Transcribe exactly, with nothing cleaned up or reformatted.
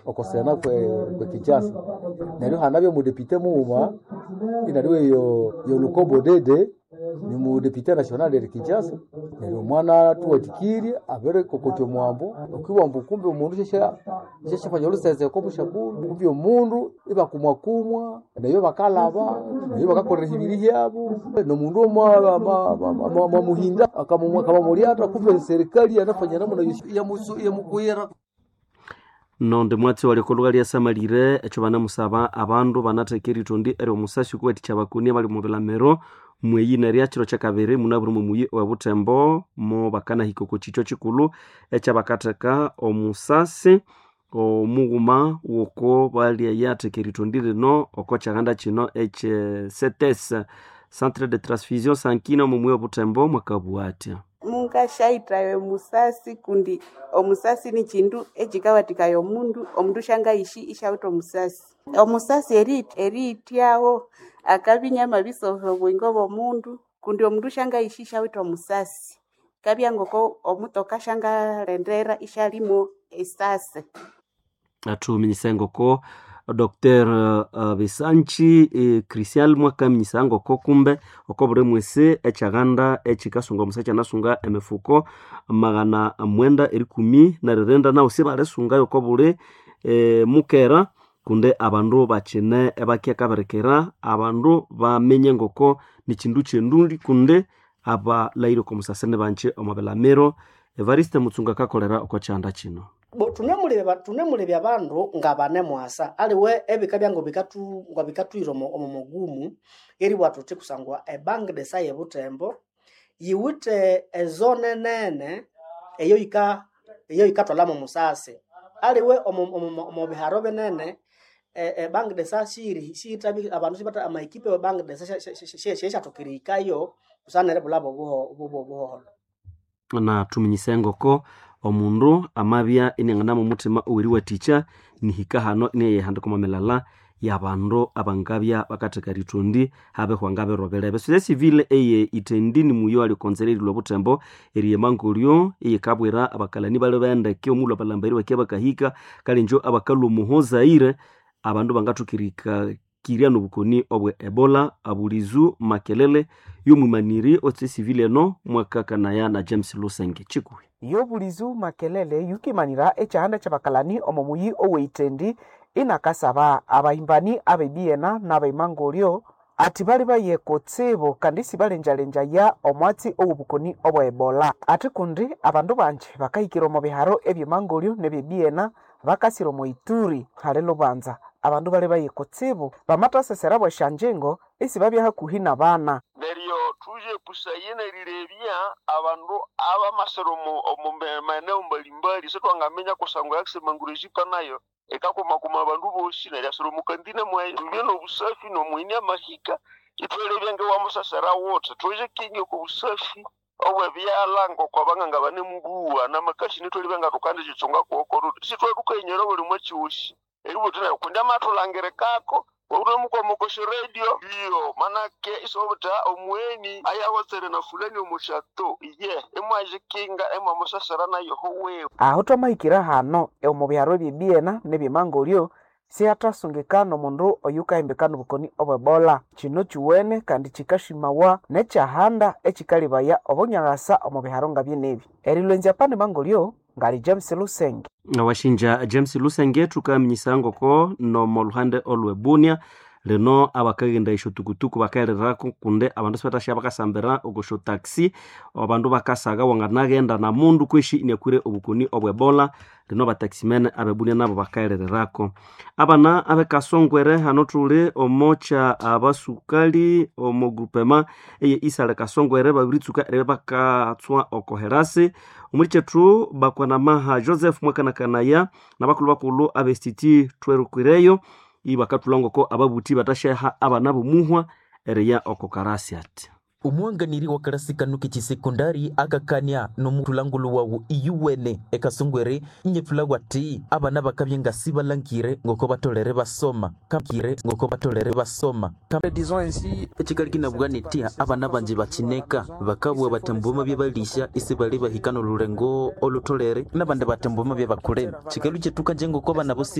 oko sena kwe kwe Kinshasa. Neryo hanabya omudepite mughuma inaliwe yo yo Lukombo Dede ni mudepite national eri Kinshasa. Neryo omwana tuwatikirye abirikokotya omwambo okiwamba kumbe omundu shasha shashafanya oluseseko omushakulu kumbe omundu ibakumwakumwa nayo bakalaba nayo bakakolera ebibiri hyabo nomundu mwamuhinda akamamulyata kumbe serikali yanafanya namuna yamukuyira. Nonde mwatsi wali lya samalire echo banamusaba abandu banatheka eritondi eri omusasi okuwathikya abakoni abali omu bilamiro mweyi nerya kiro kyakabiri munabwire omu muyi owe Butembo mo bakanahika oko kikyo kikulhu ekyabakatheka omusasi omughuma woko balyayatheka eritondi lino oko kyaghanda kino ekye C T S, Centre de Transfusion Sanguine, omu muyi owe Butembo mwakabugha athya. Mungashaithayo omusasi kundi omusasi ni kindu ekikawathikaya omundu omundu syangayishi isyawithe omusasi. Omusasi eri eriyithyawo akabya inyamabisova obuyingo bw'omundu kundi omundu syangayishi isyawithe omusasi. Kabya ngoko omutoka syangalendera isyalimo esasi. Athuminyisa ngoko Doctor uh, Bisanchi eh, Christian mwakaminyisa ngoko kumbe oko buli mwisi ekyaghanda ekikasunga omusa kyanasunga emifuko magana mwenda erikumi neririnda nawu sibalisungayo oko buli eh, mukera kundi abandu bakine ebakyakabirikira abandu bamenye ngoko nikindu kyenduli kundi abalahire oko musasi nibanji omo bilamiro. Evariste Mutsunga akakolera oko kyanda kino. Bo tunemulebya tunemulebya abandu nga banemwasa aliwe ebika byango bikatu nga bikatwira omo omo mugumu eribwa thuthi kusangwa ebank de sa ye Butembo yiwithe ezone nene eyo yika eyo yikathwalamo omusasi aliwe omo omo omo biharo binene e, e bank de sa shiri shiyithabi abandu sibatha amaekipe we bank de sa syasyathokera erihikayo busana neribulha obuho obuholho. Na thuminyise ngoko omundu amabya iniangana omuthima oweriwathikya nihika hano iniayihandika omo milala yabandu abangabya bakatheka erithondi habihwanga birobelebe. Société civile eye Itendi nimuyo ali konzera erilhwa Butembo eriyemangolyo eyikabwira abakalani bali bendeke omulhu abalambari bakya bakahika kalenjo abakalhwa omuho Zaire abandu bangathoka erikakirya nobukoni obwe Ebola. Abulizu Makelele yomwimaniri o société civile eno mwakakanaya na James Lusenge Chikuhi. Yobulizu Makelele yukimanira ekyahanda kyabakalani omo muyi oweitendi inakasaba abahimbani abebiena n'abaimangolyo ati bali baye kutsibu kandi sibalenjalenjaya omwatsi owobukoni obwa Ebola ati kundi abandu banji bakahikira omo biharo ebyemangolyo nebyebiena bakasira omo Ituri hali lubanza abandu bali baye kutsibu bamathasesera bwesyanjingo esibabya hakuhi nabana. Neryo tuje kusaye nerirebya abandu abamasira omu omu maeneo mbalimbali sitwangaminya kusangwa yakisemangurejika nayo ekakumakuma abandu bosi neryo asira omukandina mwayo tubye nobusafi nomuhini amahika ithwalebya ngewamusasera wuthe tuje kingi oko busafi obwebyalha ngoko abanganga banemubuwa namakashini thwalebya nga thukandikitsunga kwoko sithwathukainyera buli mwakyosi eributhi neryo kundi amathulangirikako unamukwamukosha radio iyo manake isobutha omuweni ayahotsere na fulani omushato iye imwajikinga imwamusasira nayo howewe. Aho twamahikira hano omu biharo ebyebiena nebyemangolyo sihathasungikana omundu oyukahimbikana obukoni obwebola. Kino kiwene kandi kikashimawa nekyahanda ekikalibaya obunyaghasa omu biharo ngabyenebi. Erilwenzya pane mangolyo ngali James Lusenge. Washinja James Lusenge thukaminyisa ngoko nomo luhande olwe Bunia lino abakaghenda esyotukutuku bakahererako kundi abandu sibathasya bakasambira okosyo taxi abandu bakasagha wanganaghenda na mundu kweshi iniakwire obukoni obwebola lino bataximene abebunia nabo bakahererako. Abana abekasongwere hano thuli omokya abasukali omo groupema eye Isale Kasongwere babiritsuka eribya bakatswa oko herasi omuli kyethu bakwanamaha Joseph mwakanakanaya nabakulhu bakulhu abe S T T twerukireyo ibakathulha ngoko ababuthi bathasyaha abana bomuhwa eriya oko karasi ati. Omwanganiri wa karasi kanu k'ekisekondari akakania n'omuthulangulu wawu iyuwene ekasongwere inyethulagwa ati abana bakabya nga sibalangire ngoko batolere basoma kakire ngoko batolere basoma ekikali kinabugha nitya abana banji bakineka bakabugha batambuma byabalisha isi bali bahika n'olulengo olutolere n'abandi batambuma byabakulema kikalu kyetuka nje ngoko abana bosi.